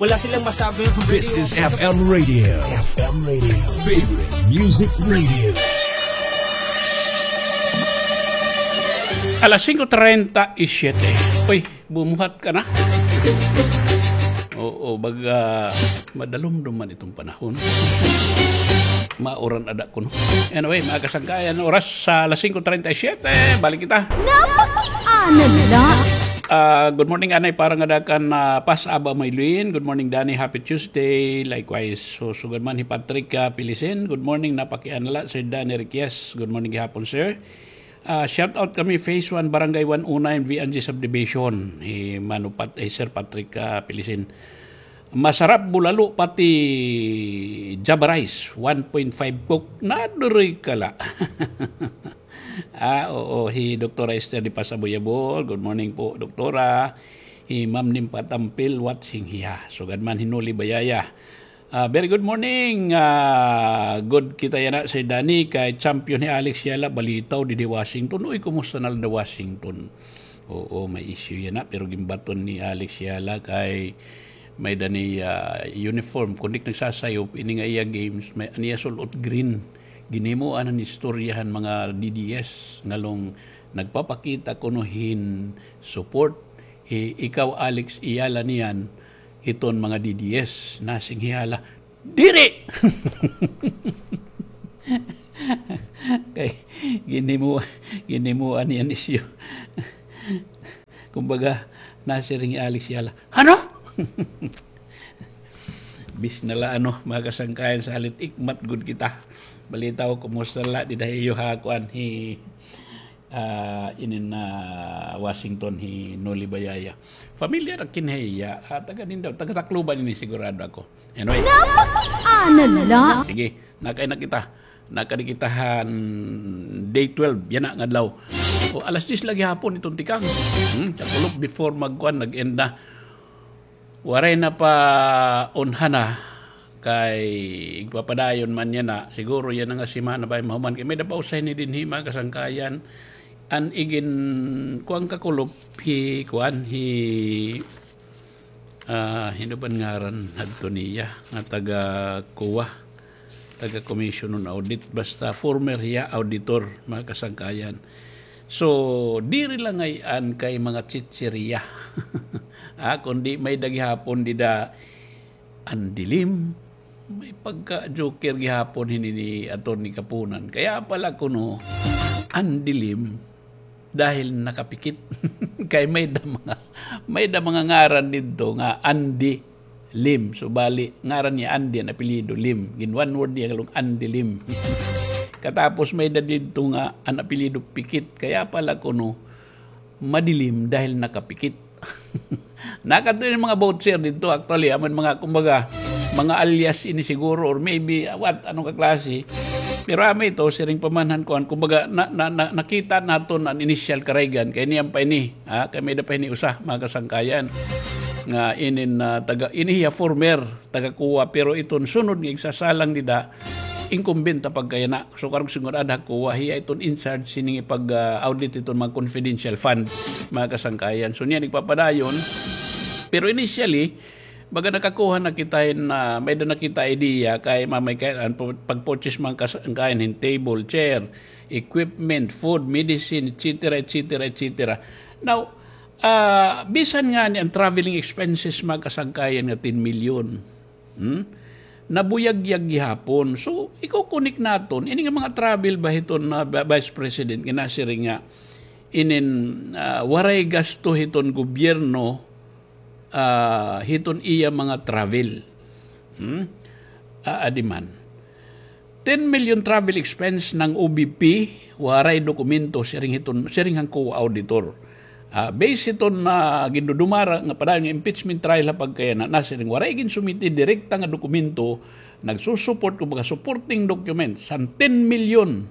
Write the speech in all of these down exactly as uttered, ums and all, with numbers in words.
Wala silang masabi. This is F M Radio. F M Radio. Favorite Music Radio. Alas singko treinta y siete. Uy, bumuhat ka na. Oo, baga madalumdom man itong panahon. Mauran ada kuno. Anyway, mga kasangkayan, oras sa alas singko treinta y siete. Balik kita. Napakiana la. Ah, good morning, Anay, para ngada kan, ah, Pas Aba Maylin. Good morning, Danny. Happy Tuesday. Likewise, so, sugad man hi Patrick, ah, Pilisin. Good morning, napakiana la, Sir Danny Riquez. Good morning gihapon, sir. Ah, shout out kami, Phase one, Barangay one oh nine, V N G Subdivision. Hi Mano Pat-, eh, Sir Patrick, ah, Pilisin. Masarap bulalo pati Java rice, one point five Coke, nadiri ka la. Ah, oo, hi Doktora Esther de Pasabuyabol. Good morning po, Doktora. Hi Ma'am Nim Patampil, watching hiya. Sugad man hi Noli Bayaya. Ah, very good morning. Ah, good kita yana, Sir Danny, kay champion hi Alex Yala, balitaw didi Washington. Uy, kumusta na la da Washington? Oo, may issue yana, pero ginbaton ni Alex Yala kay may-ada ni, ah, uniform. Kundi nagsasayop, ini nga iya games, may, an iya sul-ot green. Ginhimuan han istorya han mga D D S, ngalong nagpapakita kuno hin support. Hi, ikaw, Alex Yala, niyan, iton mga D D S, nasiring hi Yala, "Diri!" Kay ginhimo-, ginhimuan niyan isyu. Kumbaga, nasiring hi Alex Yala, "Ano?" Bis na la, ano, mga kasangkayan, salit ikmat gud kita. Balitaw, kumusta la dida ha iyo ha kuan, hi, ah, inin, ah, Washington, hi Noli Bayaya. Familiar ak hin hiya, ah, taga Nindao, taga Tacloban ini sigurado ako. Anyway. Napakiana la. Sige, nakay na kita. Nakadi kita han day twelve, yana nga adlaw. O, alas diyes la gihapon iton tikang. Hmm, kakulop before magkuan, nag-end na. Waray na pa unhana, kay igpapadayon man yana. Siguro yana nga semana bay mahuman. Kay may-ada pa usa hini dinhi, mga kasangkayan. An igin, kuan, kakulop, hi, kuan, hi, ah, hin-o ba an ngaran hadto niya, nga taga COA, taga Commission on Audit, basta former hiya auditor, mga kasangkayan. So, diri la ngay-an kay mga chichirya. Ah, kundi may-ada gihapon dida an dilim. May pagka-joker gihapon hini ni Attorney Kapunan. Kaya pala kuno, an dilim dahil nakapikit. Kay may-ada mga, may-ada mga ngaran didto nga Andy Lim. So, bali, ngaran niya Andy, an apelyido Lim. Gin one word niya, kalong Andy Lim. Katapos may-ada didto nga an apelyido Pikit. Kaya pala kuno, madilim dahil nakapikit. Nakadto ini mga voucher didto, actually, amo ini mga, kumbaga, mga alias ini siguro, or maybe, ah, what, ano nga klase. Pero amo ito, siring pa man han kuan, kumbaga, na, na, na, nakita naton an initial Karaygan, kay niyan pa ini, ha, kay may-ada pa ini usa, mga kasangkayan. Nga inin, ah, taga, ini hiya former taga COA, pero iton sunod nga igsasalang dida, incumbent ha pagkayana. So, karuyag sigurado ha COA, hiya iton in charge sining ipag, ah, audit iton mga confidential fund, mga kasangkayan. So, niyan igpapadayon. Pero initially, baga nakakuha na kita hin, ah, may-ada na kita idea kay mamay kay an pu-, pag-purchase mga kasangkayan hin table, chair, equipment, food, medicine, et cetera, et cetera, et cetera. Now, ah, bisan ngani an traveling expenses, mga kasangkayan, nga ten milyon. Hmm? Nabuyagyag gihapon. So, iko-connect naton, ini nga mga travel ba hiton na ba-, Vice President, nga nasiring nga, inin, ah, waray gasto hiton gobyerno, ah, hiton iya mga travel. Hmm? Ah, adi man. Ten million travel expense ng O V P, waray dokumento, siring hiton, siring han COA auditor. Ah, base hiton, ah, gindudumara nga padayon nga impeachment trial ha pagkayana, nasiring waray ginsumiti direkta nga dokumento, nagsusupport, kumbaga, supporting documents, han ten million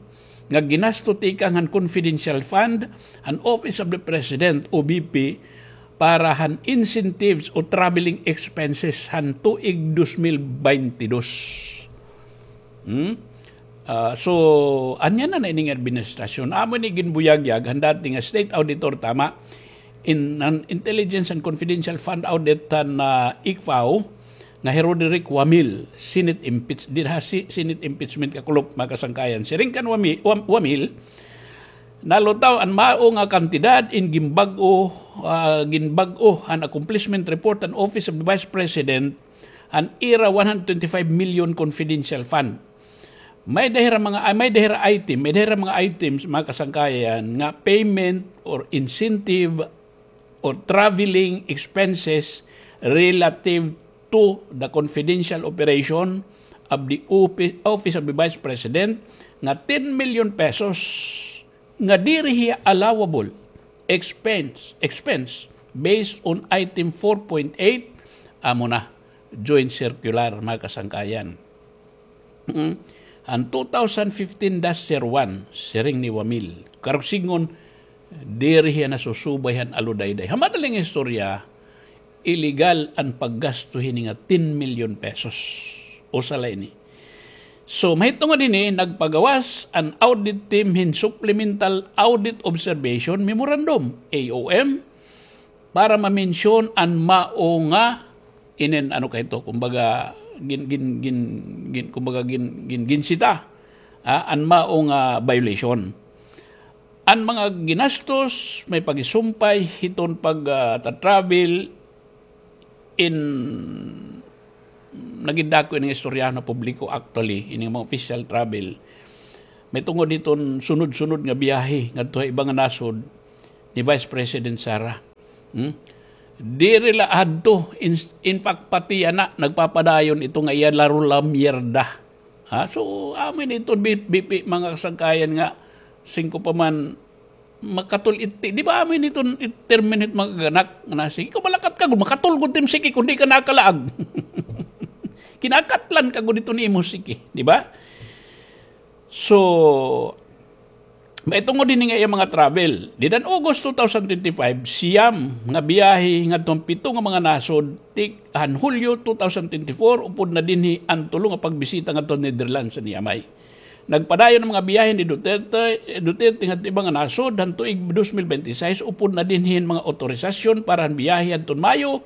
nga ginasto tikang han confidential fund, han Office of the President, O V P, para han incentives o traveling expenses han tuig dos mil baynte dos. Hmm? Ah, so, ania na na ining administrasyon. Amo ini ginbuyagyag han dati nga state auditor, tama, in, an Intelligence and Confidential Fund Audit han, ah, I C F A O, nga hi Roderick Wamil, Senate impeach-, dida ha si-, Senate impeachment kakulop, mga kasangkayan. Siring kan Wami-, Wam-, Wamil, nalutaw an mao nga kantidad in ginbag-o, ah, ginbag-o han accomplishment report han Office of the Vice President han ira one hundred twenty-five million confidential fund. May-ada hira mga, ah, may-ada hira item, may-ada hira mga items, mga kasangkayan, nga payment or incentive or traveling expenses relative to the confidential operation of the opi-, Office of the Vice President nga ten million pesos nga diri hiya allowable expense, expense based on item four point eight, amo na, joint circular, mga kasangkayan. Mm. An two thousand fifteen dash zero one, siring ni Wamil. Karuyag sidngon, diri hiya nasusubay han aludayday. Ha madaling istorya, illegal an paggasto hini nga ten million pesos. Usa la ini. So, mahitungod hini, nagpagawas an audit team hin Supplemental Audit Observation Memorandum, A O M, para mamensyon an mao nga inin, ano kay ito, kumbaga, gin-, gin-, gin-, gin-, kumbaga, gin-, gin-, ginsita, ah, an mao nga violation. An mga ginastos, may pagisumpay hiton pag, ah, ta-travel in nagidako ini nga istoryahan ha publiko, actually, ini nga mga official travel. May tungod hiton sunod-sunod nga biyahe ngadto ha iba nga nasod ni Vice President Sara. Hmm? Diri la adto, in, in fact, pati yana, nagpapadayon ito nga iya laro la mierda. Ha? So, amo ini iton bi-, bipi, mga kasangkayan nga, singko pa man, makatul-, iti, di ba, amo ini iton it-, termino hit mga kaganakan, nga na, sige, ikaw malakat ka, makatulgod tim siki, kundi ka nakalaag. Kinakatlan ka gud iton imo siki, di ba? So, mahitungod hini nga iya mga travel. Dida han August two thousand twenty-five, siyam nga biyahe ngadto han pito nga mga nasod, tik-, han Hulyo two thousand twenty-four, upod na dinhi an tulo nga pagbisita ngadto han Netherlands, niya may. Nagpadayon an mga biyahe ni Duterte, Duterte ngadto iba nga nasod, han tuig dos mil bente seis, upod na dinhi an mga otorisasyon para han biyahe hadton Mayo,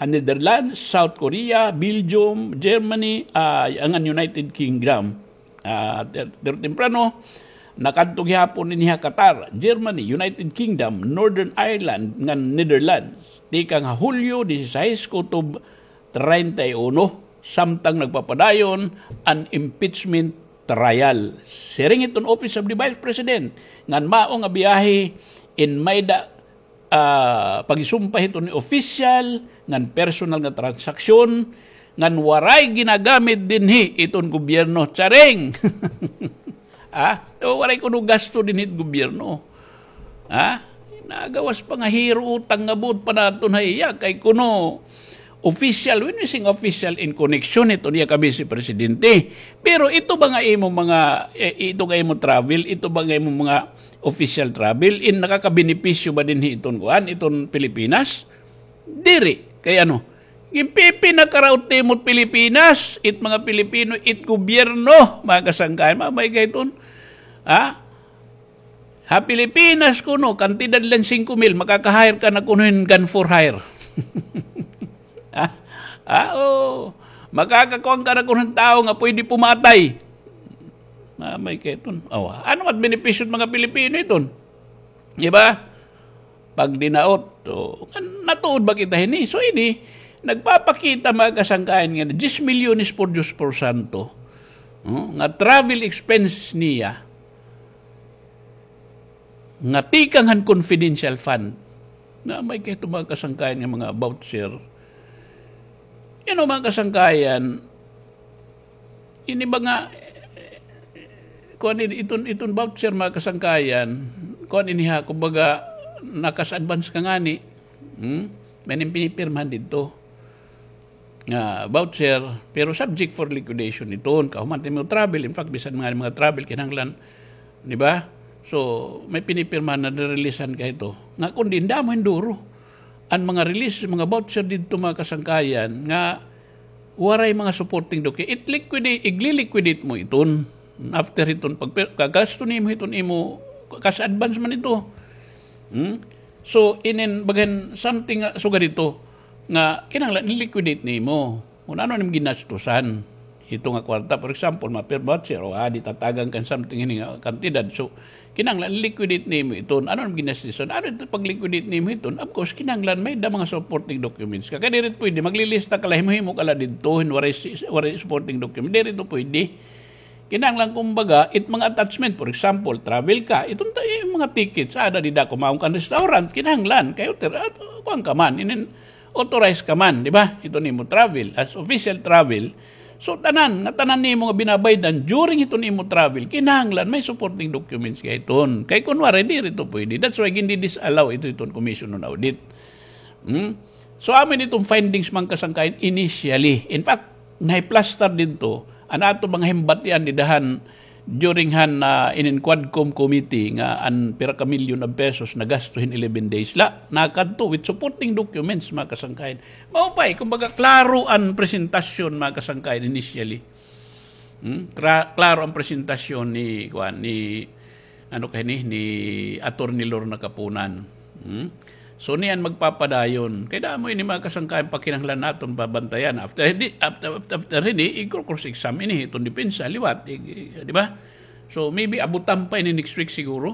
han Netherlands, South Korea, Belgium, Germany, ah, ngan United Kingdom. Ah, ter-, pero temprano, nakadto gihapon ini ha Qatar, Germany, United Kingdom, Northern Ireland, ngan Netherlands. Tikang ha Hulyo dieciséis kutob treinta y uno, samtang nagpapadayon an impeachment trial. Siring hiton Office of the Vice President, ngan mao nga biyahe in may-ada ah, pagisumpay hiton ni opisyal ngan personal nga transaksyon ngan waray ginagamit dinhi iton gobyerno. Charing! Ah, waray kuno gasto dinhi it gobyerno. Ah, nagawas pa nga hiro utang nga buot pa naton ha iya kay kuno opisyal, when we sing opisyal in connection hiton iya ka-vice presidente. Pero ito ba nga imo mga, eh, ito nga imo travel, ito ba nga imo mga official travel, in nakakabenepisyo ba dinhi iton kuan, iton Pilipinas? Diri. Kay ano? Ginpipinakaraot nimo it Pilipinas, it mga Pilipino, it gobyerno, mga kasangkayan, mamay kay iton. Ha? Ha Pilipinas kuno, kantidad la hin singko mil, makaka-hire ka na kuno hin gun for hire. Ha? Ah, oo. Makakakuan ka na kuno hin tawo nga pwede pumatay. Mamay kay iton. Awa, ano mat benepisyo hit mga Pilipino iton? Di ba? Pagdinaot. O, natuod ba kita hini? So, ini, nagpapakita, mga kasangkayan, nga diyes milyones por Diyos por santo, no? Nga travel expense niya, nga tikang han confidential fund. Namay kay iton mga kasangkayan nga mga voucher. You know, mga kasangkayan, ini ba nga, kuan ini, iton, iton voucher, mga kasangkayan, kuan ini ha, kumbaga, na-cash advance ka ngani, hmm? May nim pinipirmahan didto nga voucher, pero subject for liquidation iton. Kahuman it imo travel, in fact, bisan mga, mga travel, kinahanglan, di ba? So, may pinipirmahan na nireleasan ka hito. Nga kundi, damo hin duro an mga release, mga voucher didto, mga kasangkayan, nga waray mga supporting document. It liquidate, igli-liquidate mo iton. After hiton, pag, kagasto nimo hiton imo, cash advance man ito. Hmm? So, inin, bagan something nga sugad ito nga kinahanglan i-liquidate nimo. Kun ano nim ginastusan, ito nga kwarta, for example, mapirma voucher, o, ah, di tatagan kan something ini nga kantidad. So, kinahanglan liquidate nimo iton. Ano nim ginastusan? Ano ito pag-liquidate nimo iton? Of course, kinahanglan may da mga supporting documents ka. Kay diri pwede, maglilista ka la, himo-himo ka la didto, hin waray si-, waray supporting document. Diri ito pwede. Kinahanglan, kumbaga, it mga attachment, for example, travel ka, iton ta-, yung mga tickets, ada dida kumaon kan restaurant, kinahanglan, kay ter-, at, kuan ka man, inin, authorized ka man, di ba? Ito nimo travel, as official travel. So, tanan, nga tanan nimo nga binabaydan during ito nimo travel, kinahanglan may supporting documents ka iton. Kay kun waray, diri ito pwede. That's why gindi-disallow ito iton Commission on Audit. Hmm? So, amo ini iton findings, mga kasangkayan, initially. In fact, nahiplaster didto, an aton mga himbatian dida han during han, ah, inin Quadcom committee nga an pira ka milyon of pesos nagasto hin eleven days la. Nakadto with supporting documents, mga kasangkayan. Maupay, kumbaga, klaro an presentasyon, mga kasangkayan, initially. Hmm? Kra-, klaro an presentasyon ni, kuan, ni, ano kay ni, ni Attorney Lorna Kapunan. Hmm? So, niyan magpapadayon. Kay damo ini, mga kasangkayan, pa kinahanglan naton babantayan. After di, after, after, after hini, igko-cross exam ini, iton depensa, liwat, ig-, ig-, di ba? So, maybe abutan pa ini next week siguro.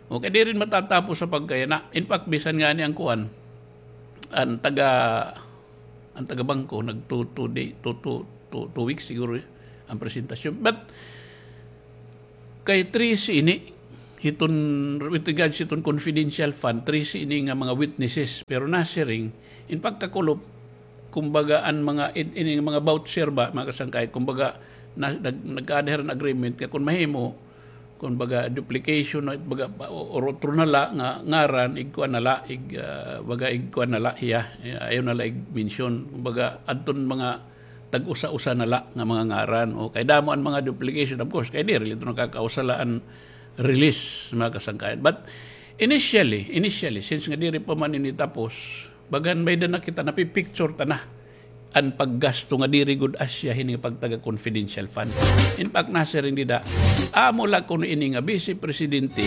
Okay, di rin matatapos sa pagkayana. In fact, bisan nga ni ang kuan, an taga, an taga bangko, nag two, two day, two, two, two, two weeks siguro, eh, ang presentasyon. But, kay trese ini, hiton, with regards hiton confidential fund, trese ini nga mga witnesses. Pero nasiring, in pagkakulop, kumbaga, an mga, in, ini nga mga voucher ba, mga kasangkay, kumbaga, na, nag-, nagkaada hira hin agreement, kay kun mahimo, kumbaga, duplication, no, baga, pa, o, or otro na la, nga, ngaran, igkuan na la, ig, ah, baga, igkuan na la, iya, iya, ayaw na la, ig-mention, kumbaga, adton mga, tag-usa-usa na la nga mga ngaran. O, kay damo an mga duplication, of course, kay diri la ito nakakausa la an release, mga kasangkayan. But initially, initially, since nga diri pa man ini tapos, bagan may da na kita, napipicture ta na an paggasto nga diri gud asya hini nga pagtaga confidential fund. In fact, nasiring dida, amo la kuno ini nga Vice Presidente,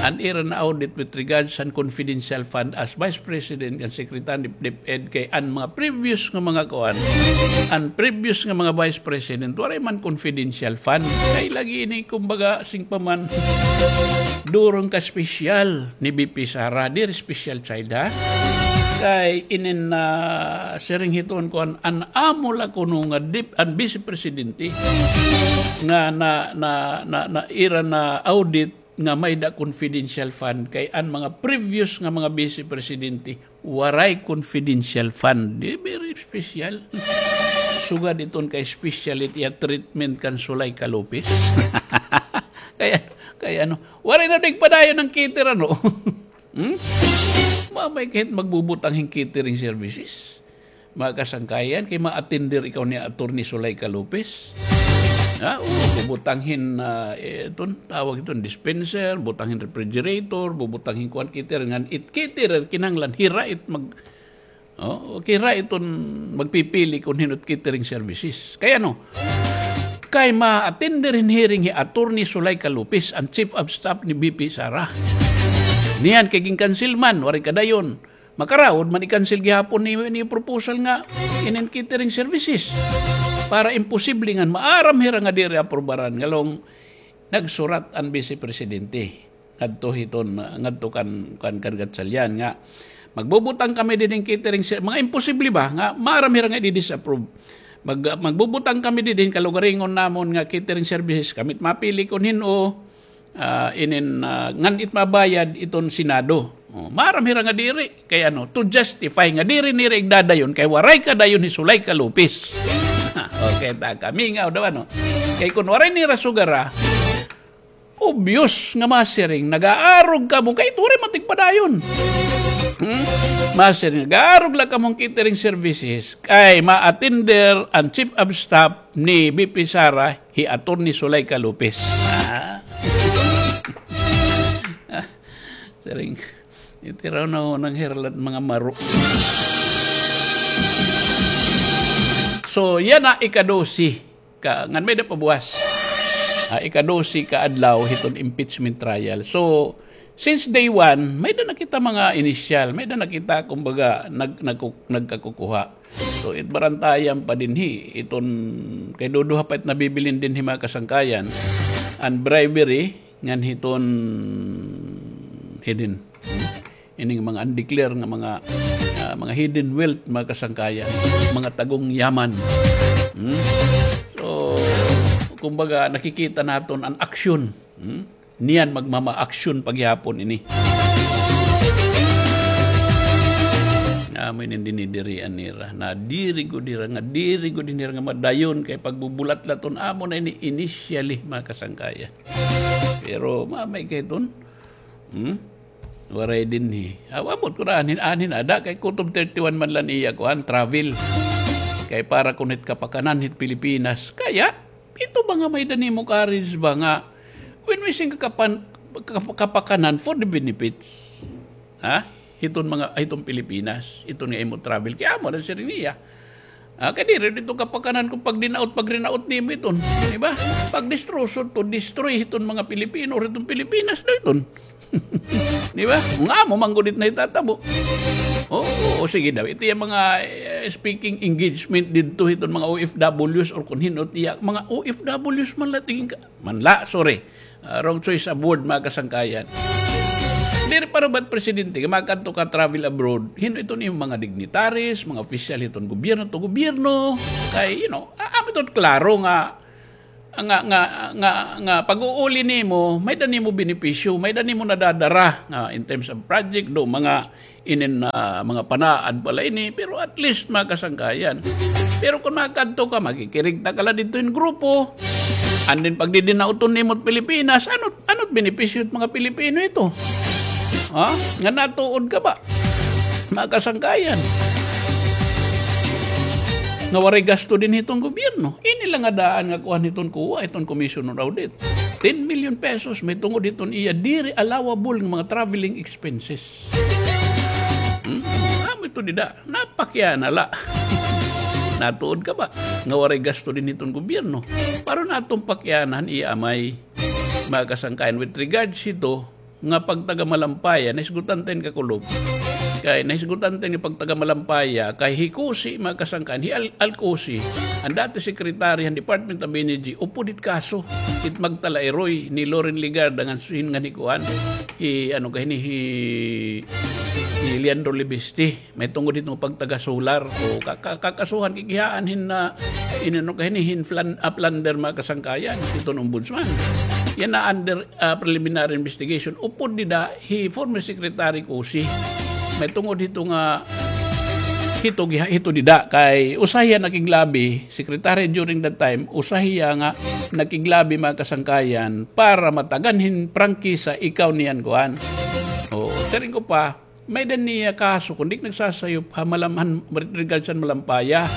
an ira na audit with regards sa confidential fund as Vice President and Secretary DepEd kay an mga previous nga mga kuan, an previous nga mga vice president, waray man confidential fund. Kay lagi ini, kumbaga, sing pa man, durong ka special ni V P Sara, diri special child, ha? Kay inin na siring hiton kuan, an amo la kuno nga dip-, an vice presidente nga na, na, na, na ira na audit nga may da confidential fund kay an mga previous nga mga vice presidente waray confidential fund. Di, very special. Sugad iton kay special it iya treatment kan Zuleika Lopez. Kaya, kaya ano, waray na nagpadayon an caterer, ano? Hmm? Mamay kahit magbubutang hin catering services. Mga kasangkayan, kay ma-attender ikaw ni Attorney Zuleika Lopez. Ha? Oo, bubutang hin, ah, eh, iton, tawag iton, dispenser, butang hin refrigerator, bubutang hin kuan caterer, ngan it caterer, kinahanglan, hira it mag-, oh, hira iton magpipili kun hin-o it catering services. Kay ano, kay ma-attender hin hearing hi Attorney Zuleika Lopez, an chief of staff ni V P Sara. Niyan kay gin-cancel man, waray kadayon. Makaraod man i-cancel gihapon ni, ni proposal nga inin catering services. Para imposible ngan maaram hira nga diri aprubaran. Ngalong nagsurat an Vice Presidente ngadto hiton, ngadto kan, kan, kan Gatchalian nga magbubutang kami diding catering ser-, mga imposible ba nga maaram hira nga i-disapprove. Mag-, magbubutang kami diding kalugaringon namon nga catering services, kami it mapili kun hin-o, ah, inin, ah, ngan it mabayad iton Senado. Oh, maaram hira nga diri. Kay ano, to justify nga diri nira igdadayon, kay waray kadayon hi Zuleika Lopez. Okay, ta kami nga, daw ano. Kay kun waray nira sugara, obvious nga masiring, nag-aarog kamo, kay waray man tigpadayon. Hmm? Masiring, nag-aarog la kamo hin catering services, kay ma-attender an chief of staff ni V P Sara, hi Attorney Zuleika Lopez. Ah. Siring, itiraw na ho ng herlat mga maro. So, yana, ika-dose ka, ngan may-ada pa buwas. Ah, ika-dose ka adlaw hiton impeachment trial. So, Since day one, may da na kita mga initial, may da na kita, kumbaga, nag-, nagku-, nagkakukuha. So, it barantayan pa dinhi, iton, kay duduha pa it nabibilin dinhi, mga kasangkayan, an bribery, ngan hiton hidden. Hmm? Ining mga undeclared nga mga, ah, mga hidden wealth, mga kasangkayan, mga tagong yaman. Hmm? So, kumbaga, nakikita naton an aksyon. Hmm? Niyan magmama-aksyon pa gihapon ini. Amo ini an dinidirian nira. Na diri gud nira nga, diri gud nira nga madayon kay pagbubulatlaton amo na ini initially, mga kasangkayan. Pero mamay kay ton, hmm? Waray dinhi. Aw, ambot ko na anhin, anhin ada kay kutob thirty-one man la an iya kuan, travel. Kay para kun hit kapakanan hit Pilipinas. Kaya, ito ba nga may-ada nimo courage ba nga when we sing kakapan-, kap-, kapakanan for the benefits? Ha? Hiton mga, hiton Pilipinas, hiton nga imo travel. Kay amo na siring niya. Ah, kay diri dito kapakanan kun pagdinaot, pagrinaot nimo iton, di ba? Pagdestruso to, destroy hiton mga Pilipino, hiton Pilipinas daw iton. Di ba? Nga amo man gud it nahitatabo. Oo, o sige daw. Ito yung mga, eh, speaking engagement dito, hiton mga O F Ws or kun hin-o it iya, mga O F Ws man la tingin ka, man la, sorry. Ah, wrong choice of word, mga kasangkayan. Diri pa rubat presidente, nga makadto ka travel abroad, hin-o iton imo mga dignitaries, mga opisyal hiton gobyerno to gobyerno, kay, you know, a-, amo iton klaro nga, nga, nga, nga, nga pag-uuli nimo, may-ada nimo benepisyo, may-ada nimo nadadara, nga in terms of project, do, mga inin, ah, mga panaad pa la ini, pero at least mga kasangkayan. Pero kun makadto ka, makikirigta ka la didto hin grupo, and then pagdidinauton nimo it Pilipinas, ano, ano it benepisyo it mga Pilipino ito? Ha? Nga natuod ka ba? Mga kasangkayan. Nga waray gasto dinhi iton gobyerno. Ini la nga daan nga kuan hiton kuwa, iton Commission on Audit. Ten million pesos, mahitungod hiton iya diri allowable nga mga traveling expenses. Hmm? Amo ito dida, napakiana la. Natuod ka ba nga waray gasto dinhi iton gobyerno? Para naton pakianahan iya amay, mga kasangkayan, with regards hito nga pagtaga Malampaya, nahisgutan ta hin kakulop. Kay nahisgutan ta hin pagtaga Malampaya, kay hi Cusi, mga kasangkayan, hi Al-, Al Cusi, an dati secretary han Department of Energy, upod hit kaso, it magtalairoy ni Loren Legarda ngan hin, ngan hi kuan, hi, ano ka hini, hi, hi Leandro Libiste. Mahitungod hito nga pagtaga solar. O, ka-, ka-, kakasuhan, kikihaan hin na, inano ka hini, hin flan-, ah, plunder, mga kasangkayan, hiton ombudsman. Yana under, ah, preliminary investigation. Upod dida, hi former Secretary Cusi. Mahitungod hito nga, hito giha-, hito dida, kay usa hiya nakiglabi, secretary during that time, usa hiya nga nakiglabi, mga kasangkayan, para matagan hin prangkisa, ikaw niyan kuan. O, siring ko pa, may-ada niya kaso, kun di ak nagsasayop, ha, Malam-, han, regards han Malampaya.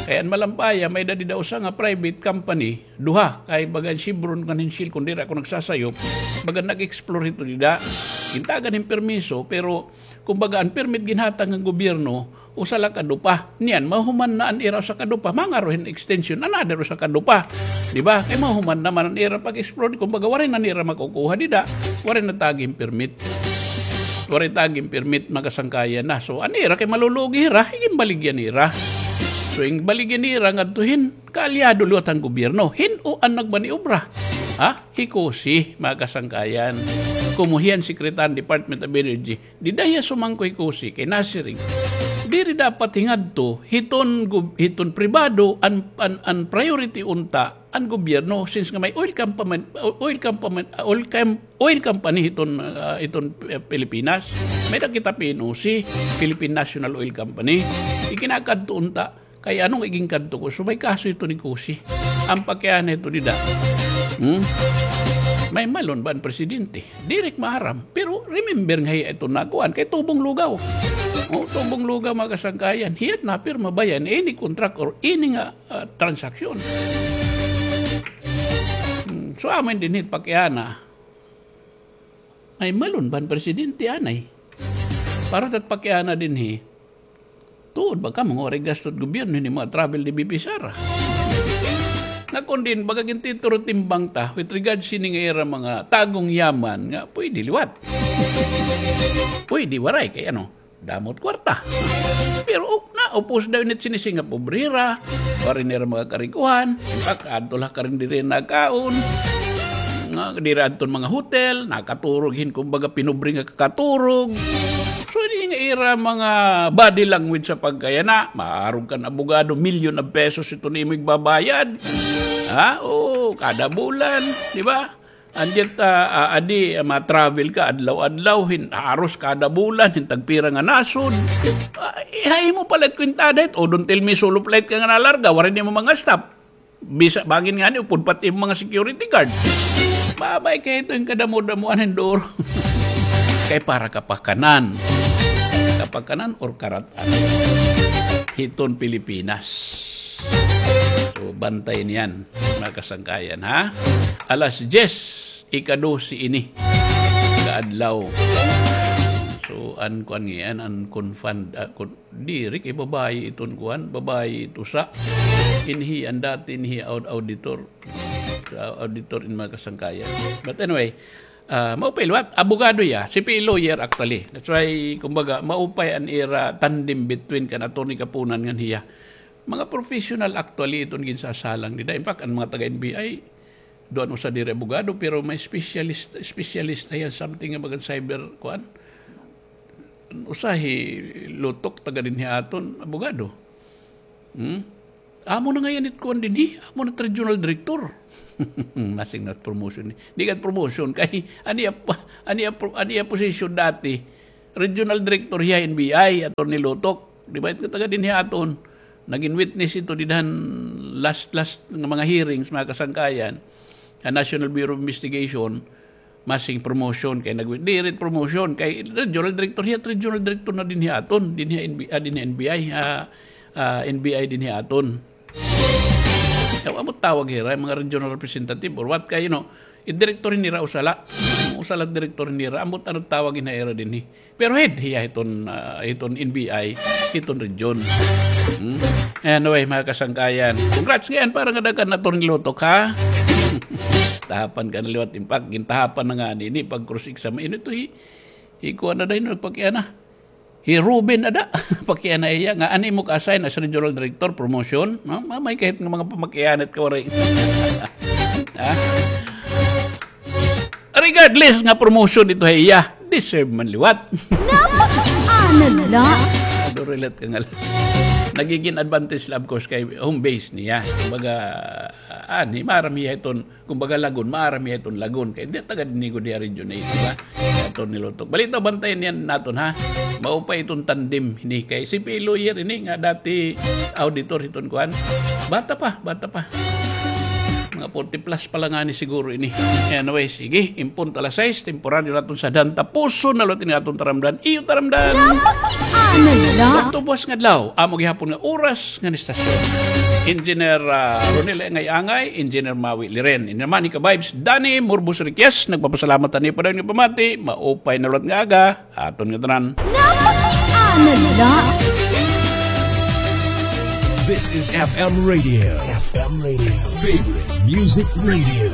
Kay an Malampaya, may-ada dida usa nga private company, duha, kay baga an Chevron ngan hin Shell, kun diri ako nagsasayop, baga nag-explore hito dida. Gintagan hin permiso, pero, kumbaga, an permit ginhatag han gobyerno, usa la ka dupa. Niyan, mahuman na an ira usa ka dupa, mangaro hin extension, another usa ka dupa. Di ba? Kay mahuman naman an ira pag-explore, kumbaga, waray na nira makukuha dida, waray na tagi hin permit. Waray tagi hin permit, mga kasangkayan na. So, an ira kay malulugi hira, iginbaligya nira. So, ing baligya nira ngadto hin kaalyado liwat han gobyerno. Hin-o an nagmaniobra? Ha? Hi Cusi, mga kasangkayan. Komo hiya an secretary han Department of Energy. Dida hiya sumangko hi Cusi kay nasiring, diri dapat hingadto hiton gob-, hiton pribado an, an, an priority unta an gobyerno, since nga may oil company, oil company, oil com-, oil company hiton, ah, hiton, eh, Pilipinas. May-ada kita P N O C, Philippine National Oil Company. Iginakadto unta, kay ano nga iginkadto ko, so may kaso ito ni Cusi. An pakiana ito dida. Hmm? May malon ba an presidente? Diri ak maaram. Pero remember nga hiya ito nakuan kay tubong lugaw. O, tubong lugaw, mga kasangkayan. Hiya it napirma ba yana ini contract or ini nga, ah, transaksyon. Hmm. So, amo ini dinhi it pakiana. May malon ba an presidente anay? Para it at pakiana dinhi. Tuod ba kamo nga waray gasto it gobyerno hini mga travel ni V P Sara? Nga Kon din, baga gintituro timbang ta, with regards sini nga ira mga tagong yaman nga pwede liwat. Pwede waray kay ano, damot kwarta. Pero uk na, upos daw init sini nga pobrera, waray nira mga karikuhan, in fact, adto la karin diri nakaon. Nga, diri adton mga hotel, nakaturog hin, kumbaga, pinobre nga kakaturog. So, ini nga ira mga body language sa pagkayana, maarog kan abogado, milyon of pesos ito nimo igbabayad. Ha? Oo, kada bulan, di ba? And yet, ah, ah, adi, ah, ma-travel ka, adlaw-adlaw, hin, haros kada bulan, hin tagpira nga nasod. Ah, ihay mo palit kwintada hit, o don't tell me solo flight ka nga nalarga, waray nimo mga staff. Bisa bangin ngani, upod pati mga security guard. Babay kay ito yung kadamo-damoan ng duro. Kay para kapakanan. Kapakanan or karatan. Hiton Pilipinas. So, bantay niyan, mga kasangkayan, ha? Alas diyes, ika-dose ini. Kaadlaw. So, an kuan ngayan, an confund, ah, kun-, Diri kay babayi iton kuan, babayi ito sa inhi, an dati inhi aud-, auditor. Sa auditor in mga kasangkayan. But anyway, ah, maupay liwat, abogado hiya, C P A lawyer actually. That's why, kumbaga, maupay an ira tandem between kan Attorney Kapunan ngan hiya. Mga professional actually iton ginsasalang nila. In fact, an mga taga N B I, duan usa diri abogado, pero may specialist, specialist na hiya something nga bagan cyber, kuan. Usa hi Lutok, taga dinhi aton, abogado. Hmm? Amo na ngayan it kuan dinhi, amo na it regional director. Masing na promotion. Di ka promotion, kay ani iya pa-, ani iya pro-, ani iya position dati, regional director hiya N B I, Attorney Lutok. Di ba, it nga taga dinhi aton? Nagin witness ito didhan last, last nga mga hearings, mga kasangkayan, ha National Bureau of Investigation, masing promotion kay nag-, diri promotion kay regional director hiya, regional director na dinhi aton, dinhi N B, ah, dinhi N B I, ah, ah, N B I dinhi aton. Yaw, amo tawag hira, mga regional representative or what kay, you know, it director nira usa la. Usa la director nira, ambot ano tawag hira dinhi. Pero head hiya hiton, ah, hiton N B I, hiton region. Hmm? Anyway, mga kasangkayan, congrats ngayan para nga daghan na Attorney Lutok, ha? Tahapan ka na liwat, in fact, gintahapan na nga nini pag cross-exam. Ino ito, hi, hi kuan na dayon, nagpakiana. Hi Ruben ada, pakiana iya, nga ani mo ka-assign as regional director, promotion, no? Mamay kahit nga mga pamakianat ka, waray. Ha? Regardless nga promotion ito ha iya, deserve man liwat. Napakiana la. Ado relate ka nga las. Nagiging advantage la, of course, kay home base niya. Kumbaga, ah, ani, maaram hiya iton, kumbaga, lagon, maaram hiya iton lagon. Kay di taga dinhi gud hiya region eight, di ba? Attorney Lutok. Balita, bantayan niyan naton, ha? Maupay iton tandem hini kay C P A lawyer ini nga dati auditor hiton kuan. Bata pa, bata pa. Mga forty plus pa la ngani siguro ini. Anyway, sige, in punto alas sais, temporaryo naton sadhan, tapuson na liwat ini aton taramdan. Iyo taramdan. Napakiana la. Ugto buwas nga adlaw, amo gihapon nga oras ngan istasyon. Engineer, ah, Ronel Angay-Angay, Engineer Maui Liren. Ini naman, ika-vibes, Danny Murbos Riquez, nagpapasalamat ani pa dayon nga pamati, maupay na liwat nga aga. Aton nga tanan. Napakiana la. This is F M Radio. F M Radio. Favorite Music Radio.